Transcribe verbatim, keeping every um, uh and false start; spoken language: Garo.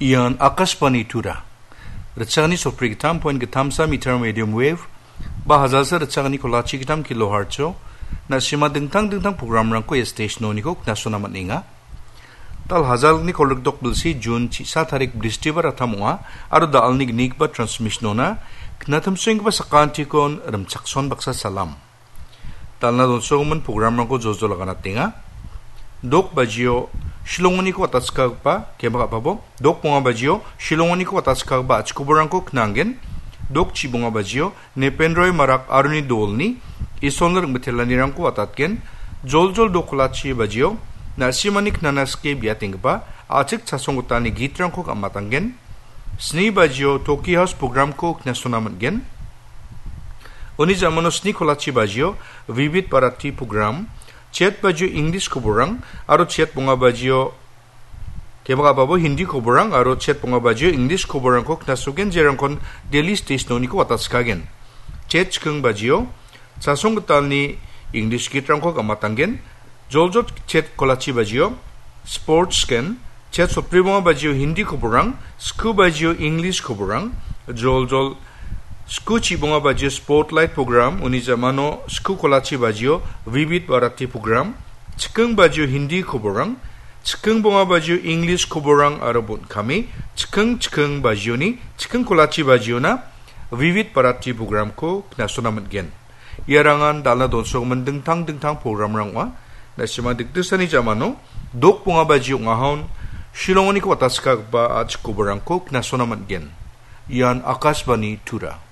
Ian Akashvani Tura. Ritchakani sotbri gittam point gittamsa meter medium wave, ba hajalsa ritchakani kolachi gittam kilohertz-o, na·sima dingtang dingtang programrangko ia station-oniko knasona man·enga. Dal hajalni kolgrikdok bilsi June chisa tarik Bristibar attam ong·a, aro da·alni gnigipa transmission-ona knatimsoenggipa sakantikon rimchakson baksa salam. Dalna donsogimin programrangko joljol aganatenga. Dok bajio Shillongoniko atatskagipa, kebak apabo, dok bonga bajio Shillongoniko atatskagipa achikoborangko knanggen. Dok chibonga bajio Nepenroy Marak aroni dolni Isolni ringmitelanirangko atatgen. Joljol dok kolachi bajio na·simani knana skie biatenggipa a·chik chasonggitalni gitrangko gam·atanggen. Sni bajio Toki House programko knasona man·gen. Uni jamano sni kolachi bajio Vivid Bharati program, chet bajio English koborang, aro chet bonga bajio kebak apabo Hindi koborang, aro chet bonga bajio English koborangko knasogen, jerangkon daily station-oniko watatskagen. Chet chiking bajio chasonggitalni English gitrangko gam·atanggen. Joljol chet kolachi bajio sports gen, chet sotbri bonga bajio Hindi koborang, sku bajio English koborang, joljol sku chibonga bajio spotlight program, uni jamano sku kolachi bajio Vivid Bharati program, chiking bajio Hindi koborang, chiking bonga bajio English koborang aro bon·kame, chiking chiking bajioni, chiking kolachi bajiona Vivid Bharati programko knasona man·gen. Iarangan dalna donsogimin dingtang dingtang programrang ong·a. Na·sima dikdisani jamano dok bonga baji ong·ahon Shillongoniko watatskagipa a·chik koborangko knasona man·gen. Ian Akashvani Tura.